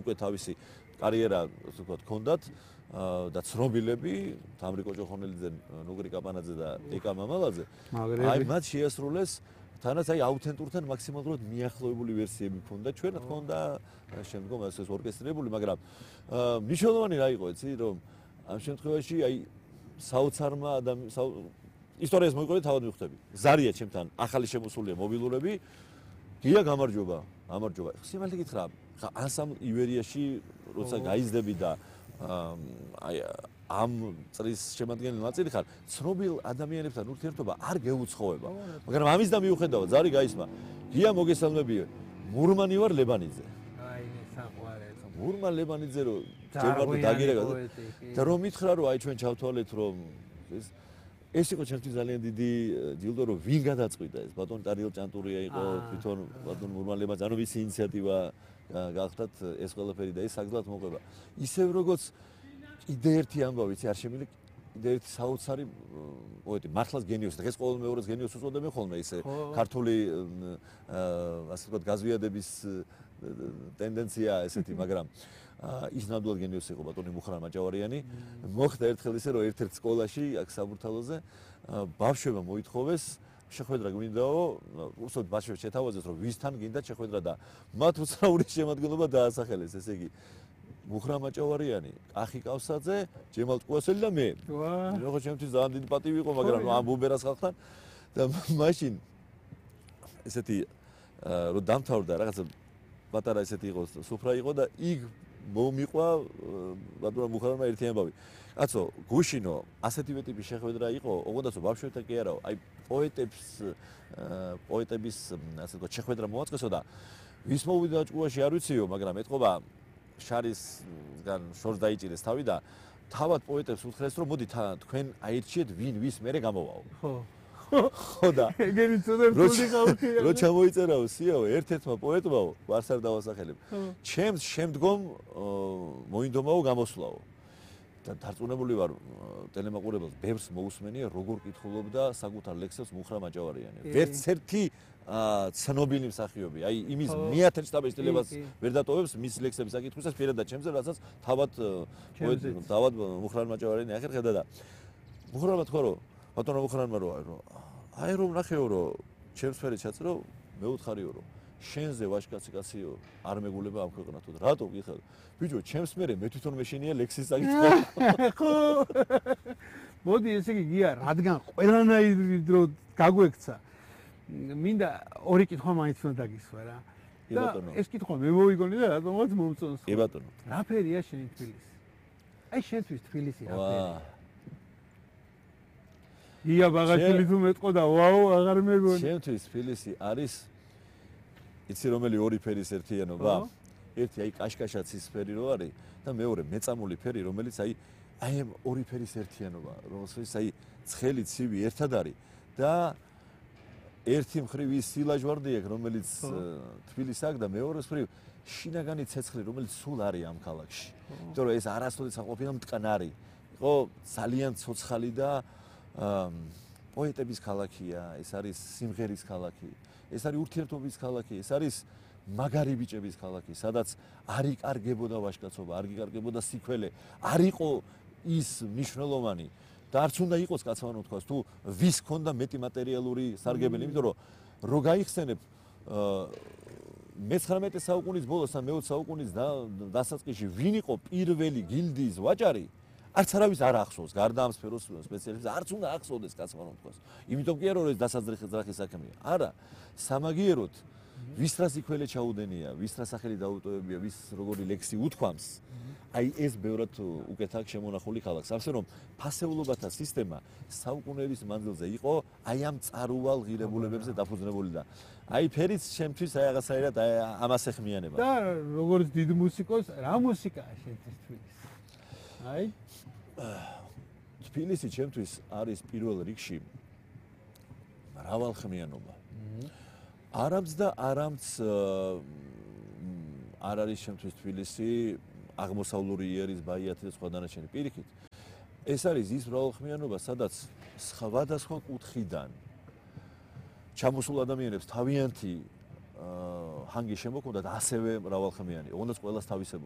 უკვე თავისი კარიერა, ასე ვთქვათ, ჰქონდათ და ცნობილები, თამრიკო ჭოხონელიძე, ნუგრი კაპანაძე და ეკა მამალაძე. აი მათ შეასრულეს თანაც აი აუთენტურთან მაქსიმალურად მიახლოებული ვერსიები ჰქონდა. ჩვენ რა თქმა უნდა შემდგომ ეს ორკესტრირებული, მაგრამ მნიშვნელოვანი რა იყო, იცი, რომ ამ შემთხვევაში აი საოცარმა ისტორიას მოიყვებით თავად მივხვდები. ზარია ჩემთან ახალი შემოსულია მობილურები. გია გამარჯობა. სიმართლე გითხრა, ხა ანსამბლ ივერიაში როცა გაიზრდები და აი ამ წრის შემადგენელი ნაწილი ხარ, ცნობილ ადამიანებთან ურთიერთობა არ გეუცხოვება. მაგრამ ამის და მიუხედავად ზარი გაისმა. გია მოგესალმები, მურმანი ვარ ლებანიძე. აი საყვარელი. მურმან ლებანიძე რო ჯერმარტო დაგირეკა და რომ მითხრა რომ აი ჩვენ ჩავთვალეთ რომ ეს იყო ჩემთვის ძალიან დიდი ჯილდო რომ ვინ გადაწყვიტა ეს ბატონ ტარიელ ჭანტურია იყო თვითონ ბატონ მურმან ლებანიძე ანუ მისი ინიციატივა გახდათ ეს ყველაფერი და ეს საგზად მოყვება ისევ როგორც კიდე ერთი ამბავი არ შემილი კიდე ერთი საოცარი პოეტი მართლაც გენიოსი და ეს ყოველ მეორეს გენიოსს უწოდებენ ხოლმე ისე ქართული ასე ვთქვათ გაზვიადების ტენდენცია ესეთი მაგრამ ის ნამდვილად გენიოსი იყო ბატონი მუხრან მაჭავარიანი მოხდა ერთხელ ისე რომ ერთ-ერთ სკოლაში აქ საბურთალოზე ბავშვებმა მოითხოვეს შეხვედრა გვინდაო უსოდ ბავშვებს შეთავაზეს რომ ვისთან გინდათ შეხვედრა და მათ უცნაური შემადგენლობა დაასახელეს ესე იგი მუხრან მაჭავარიანი კახი კავსაძე ჯემალ ტყუასელი და მე როგორ ჩემთვის ძალიან დიდი პატივი იყო მაგრამ ამ ბუბერას ხალხთან და მაშინ ესეთი რომ დამთავრდა რაღაცა პატარა ესეთი იყო სუფრა იყო და იქ მომიყვა ბატონმა მუხრანმა ერთი ამბავი. კაცო, გუშინო ასეთივე ტიპის შეხვედრა იყო, ოღონდაცო ბავშვებთან კი არაო, აი პოეტების ასე ვთქვათ შეხვედრა მოაწყესო და ვის მოვიდა ჭკუაში არ ვიციო, მაგრამ ეთყობა შარისგან შორს დაიჭირეს თავი და თავად პოეტებს უთხრეს რომ მოდი თქვენ აირჩიეთ ვინ ვის მერე გამოვაო. ხო და ეგენი წოდერ თული ხალხია რო ჩამოიწერაო სიაო ერთ-ერთმა პოეტმაო ვარს არ დავასახელებ ჩემს შემდგომ მოინდომაო გამოსვლაო და დარწმუნებული ვარ ტელემაყურებელს ბევრს მოусმენია როგორ კითხულობდა საკუთარ ლექსებს მუხრან მაჭავარიანი ვერც ერთი ცნობილი მსახიობი აი იმის მეათე შტაბის ვერ დატოვებს მის ლექსების საკითხვისას პირადად ჩემზე რასაც თავად მუხრან მაჭავარიანი ახერ ხედა და მუხრანმა თქვა რომ ბატონო მუხრანმა რომ აი რომ ნახეო რომ ჩემს ფერი ჩაწრო მე უთხარიო რომ შენზე ვაჟკაცი კაციო არ მეგულება ამ ქვეყნათო და რატო გიხარ ბიჭო ჩემს მერე მე თვითონ მეშინია ლექსის საკითხი ხო მოდი ესე იგი გია რადგან ყველანაირი დრო გაგვექცა მინდა ორი კითხვა მაინც უნდა დაგისვა რა და ეს კითხვა მე მოვიგონე და რატომაც მომწონს კი ბატონო რა ფერია შენი თბილისი აი შენთვის თბილისი რა ფერია ია ბაღაშვილი თუ მეტყოდა ვაუ აღარ მეგონი შენთვის თბილისი არის იცი რომელი ორი ფერის ერთიანობა ერთი აი კაშკაშაცის ფერი რო არის და მეორე მეწამული ფერი რომელიც აი ამ ორი ფერის ერთიანობა რომელსაც აი ცხელი ცივი ერთად არის და ერთი მხრივ ის სილაჟვარდი აქვს რომელიც თბილისს აქვს და მეორე მხრივ შინაგანი ცეცხლი რომელიც სულ არის ამ ქალაქში იმიტომ რომ ეს არასოდეს აყოფილა მტკნარი იყო ძალიან ცოცხალი და პოეტების ქალაქია, ეს არის სიმღერის ქალაქი, ეს არის ურთიერთობის ქალაქი, ეს არის მაგარი ბიჭების ქალაქი, სადაც არ იკარგებოდა ვაჟკაცობა, არ იკარგებოდა სიქველე, არ იყო ის მნიშვნელოვანი და არც უნდა იყოს კაცმანო თქვას, თუ ვის ქონდა მეტი მატერიალური სარგებელი, იმიტომ რომ რო გაიხსენებ მე-19 საუკუნის ბოლოს და მე-20 საუკუნის დასაწყისში ვინ იყო პირველი გილდიის ვაჭარი არც არავის არ ახსოვს, გარდა ამ სფეროს სპეციალისტებს, არც უნდა ახსოვდეს კაცმანო თქვას. იმიტომ კი არა რომ ეს დასაძრახის საქმეა. არა, სამაგიეროდ ვის რა სიქველე ჩაუდენია, ვის რა სახელი დაუტოვებია, ვის როგორი ლექსი უთქვამს. აი ეს ბევრად უკეთ აქვს შემონახული ქალაქს. ამასე რომ ფასეულობათა სისტემა საუკუნეების მანძილზე იყო აი ამ წარუვალ ღირებულებებზე დაფუძნებული და აი ფერიც ჩემთვის აი რაღაცაირად ამას ეხმიანება. და როგორც დიდ მუსიკოს, რა მუსიკაა შენთვის თბილისი? აი თბილისი ჩემთვის არის პირველ რიგში მრავალხმიანობა. არამც და არამც არ არის ჩემთვის თბილისი აღმოსავლური იერის ბაიათი და სხვა დანარჩენი პირიქით. ეს არის ის მრავალხმიანობა, სადაც სხვადასხვა კუთხიდან ჩამოსულ ადამიანებს თავიანთი ჰანგი შემოქმნათ ასევე მრავალხმიანი. ოღონდ ყველას თავისებური.